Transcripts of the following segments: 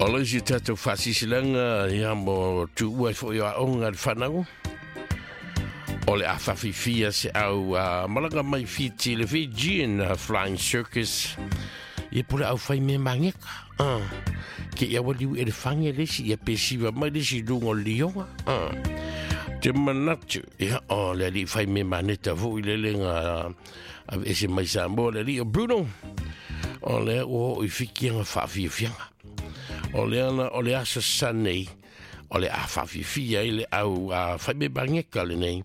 O le isi tatou faasilasilaga ia mo tuua ai foi o aoga a le fanau. O le a faafifia se au a malaga mai Fiti le Fijian Flying Circus. Ia po le au fai me mangeka. Ah. Ke ia waliu e le whange le si ia pe siwa mai le si lunga o le lioga. Ah. Te manatu, ia o le ali fai me maneta fo i le lenga ave ese mai Samoa le ali o Bruno. O le o i fikianga whaafiafianga. O le ana o le aso Sunday o le a whaafifia i le au a fai me bangeka le nei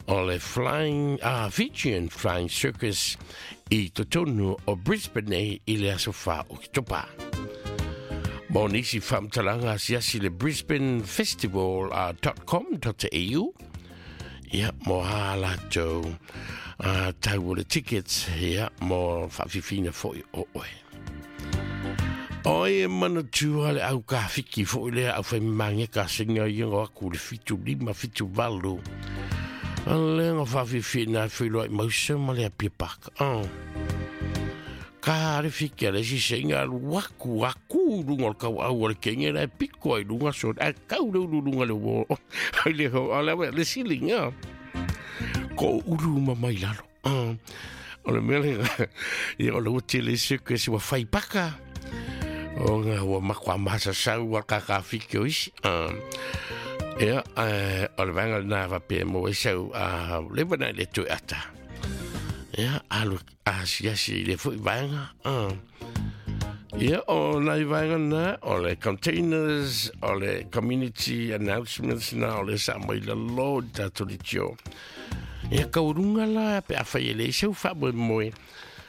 o le Flying Fijian Flying Circus i totonu o Brisbane nei i le aso 4 Oketopa. Mo nisi faamatalaga asiasi le Brisbane Festival .com.au ia mo a latou tau o le tickets ia mo faafifina foi o oe. Oi e manatua le au kafiki foi lea au whai mangeka singa ia ngo aku le 75 78. A le nga whawhiwhi nā whiloa i mausa ma le apia paka. Oh. Ka le fiki a le si singa alu aku aku lunga o le kau au o le kenge la e piko ai lunga so a kau le ulu lunga le wo. Ai le ho a le le silinga. Ko ulu ma mai lalo. Oh. O le mea le ia o le uti le se ke si wa whai paka. O ngā ua makua masa sau wa kaka fiki o isi. Ia, o le vanga nā wa pe mo e sau a lewa nai le tui ata. Ia, alu a siasi i le fui vaenga. Ia, o nai vaenga nā, o le containers, o le community announcements nā, o le sa mai la lo tātou le tio. Ia, kaurunga la, pe a whai e le sau wha moe moe.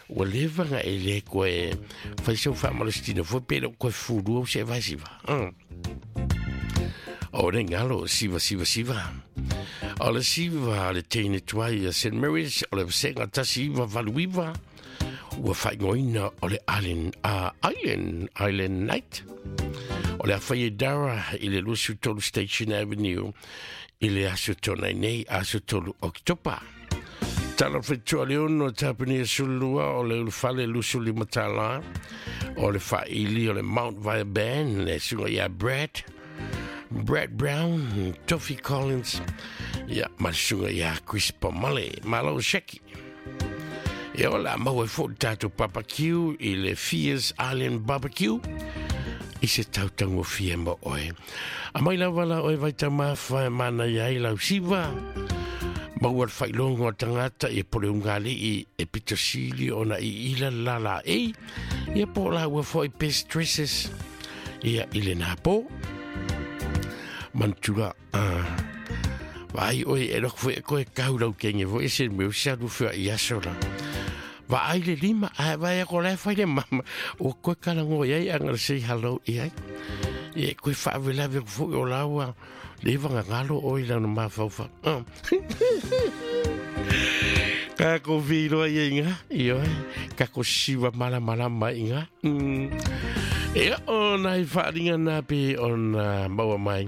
Ua leva nga e le koe whai sau wha malestina fo pe le koe furu au se vai siva. O le ngalo, siva, siva, siva. O le siva, le teine tuai a St. Mary's, o le vasenga tasi iva valu iva, ua whaingoina o le Island, Island, Island Night. O le awhai e dara i le 23 Station Avenue, i le aso tōnai nei, aso 3 Oktopa. Tala whetua le ono tapani e sulua o le ulufale lusuli matala, o le whaili o le Mount Via Band, le sunga ia Brad, Brad Brown, Toffee Collins, ia ma le sunga ia Chris Pomale, malo Sheki. Ia o la mau e fo tātou barbecue i le Fierce Island Barbecue, i se tautango fia mo oe. A mai lava la oe vai tamafa e mana ia i lau siva, maua le whailongo a tangata i pole ungali i e pito sili ona i ila la la e, ia po la ua foi best dresses, ia i le nā po. Mantua, vai oe e loko foi e koe kau lau kenge foi e se meu sa lu fua i aso la. Va ai le lima, a vai a ko le whai le mama, o koe kalango i ai anga le say hello i ai. Ia koe whaawelawe ko foi o laua, le wanga ngalo o i lana mawhauwha. Ka ko whiroa i inga, i oe, ka ko siwa malamalama i nga. Ia o nai whaaringa nā pe o nā maua mai.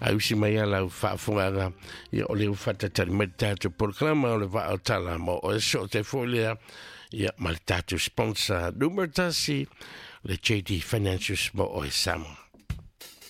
A usi mai a lau whaafunganga, ia o le uwhatatari mai tātou programa o le waa o tala mo o e so te fōlea, ia ma le tātou sponsor numero tasi, le JD Financials mo o e Samoa.